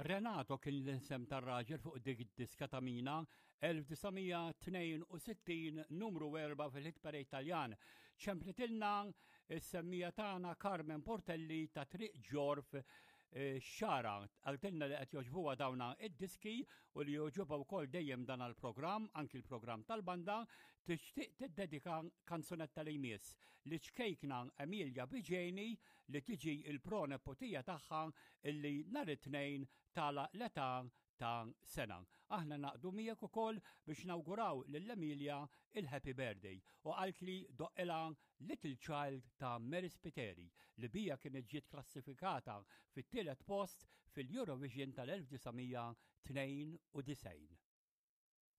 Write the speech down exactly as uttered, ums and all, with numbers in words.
Renato kien l-isem tar-raġel fuq dik id-diska ta' Mina elf disa' mija tnejn u sittin, numru erbgħa fil-hit parade Taljan. Ċemplitilna is-semmija tagħna Carmen Portelli ta' Triq Ġorf eh, Xara, qaltilna li qed jogħġbuha dawna id-diski u li jogħġobha wkoll dejjem dan il-programm, anki l-programm tal-banda, tixtieq tiddedika kanzunetta li jmiss liċ-ċkejkna Emilia Biġeni li tiġi il-pronepotija tagħha illi nhar it-Tnejn tagħlaq l-età ta' sena. Aħna ningħaqdu miegħek ukoll biex nawguraw lil Emilia il-happy birthday u qaltli doqqilha Little Child ta' Mary Spiteri li bija kienet ġiet klassifikata fit-tielet post fil-Eurovision tal-elf disa' mija tnejn u disgħin.